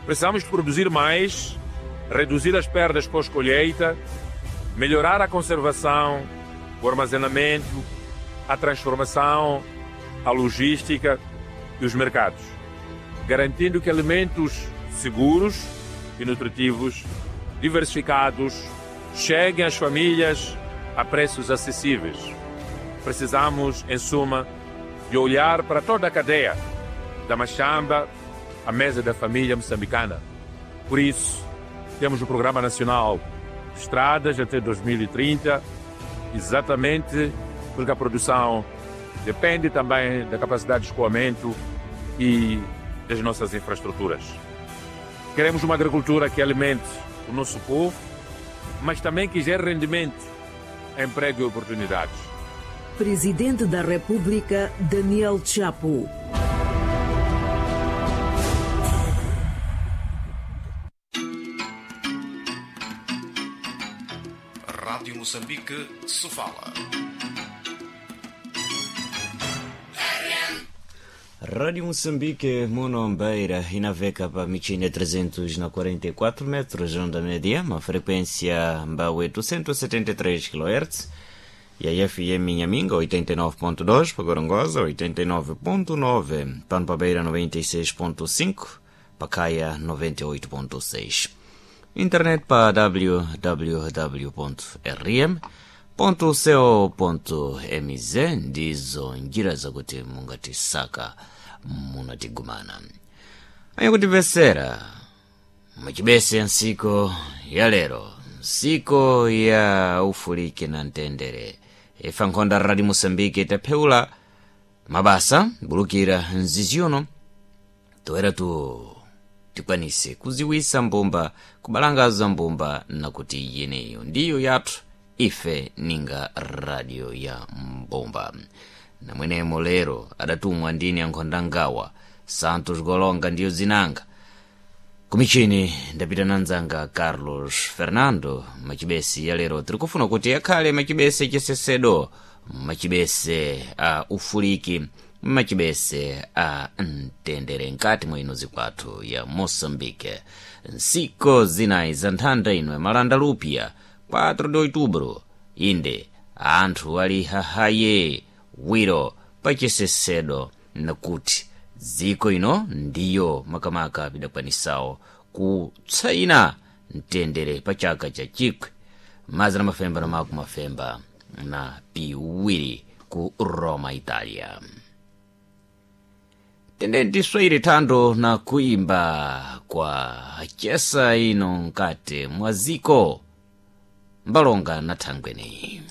Precisamos de produzir mais, reduzir as perdas pós-colheita, melhorar a conservação, o armazenamento, a transformação, a logística e os mercados, garantindo que alimentos seguros e nutritivos, diversificados, cheguem às famílias a preços acessíveis. Precisamos, em suma, de olhar para toda a cadeia, da machamba à mesa da família moçambicana. Por isso, temos o Programa Nacional de Estradas até 2030, exatamente porque a produção depende também da capacidade de escoamento e das nossas infraestruturas. Queremos uma agricultura que alimente o nosso povo, mas também que gere rendimento, emprego e oportunidades. Presidente da República, Daniel Chapo. Rádio Moçambique, Sofala. Rádio Moçambique, Monombeira, inaveka pa michine 344 metros, onda média, uma frequência Mbawe 273 kHz, e a FM Inhaminga 89.2, pa Gorongosa 89.9, Pampa Beira 96.5, Pacaia 98.6. Internet pa www.rm.co.mz ndizo njira zakuti mungatisaka munatigumana ayakutipesera muchibese nsiku ya lero, nsiku ya ufulike na mtendere. Ifa nkhonda Radi Mosambike itapheula mabasa bulukira nziziono toera tu tikwanise kuziwisa mbumba, kubalangaza mbumba, nakuti yeneyo ndiyo yathu ife ninga radio ya mbumba. Namwenemo lero adatumwa ndini ankhonda ngawa Santos Golonga ndiyo zinanga kumichini ndapita nanzanga Carlos Fernando. Machibesi ya lero tirikufuna kuti akhale machibese chisesedo, machibese a ufuliki, machibese a mtendere nkati mwa ino zikwathu ya Moçambique. Nsiku zinayi za nthanda ino malanda lupia 4 de outubro, inde anthu ali hahaye wiro pachisesedo nakuti dziko ino ndiyo makamaka pidakwanisawo kutsaina mtendere pa chaka cha 1952 ku Roma, Italia. Tendenti swahili thando na kuimba kwa chesa ino nkati mwa ziko mbalonga na thangweneyi.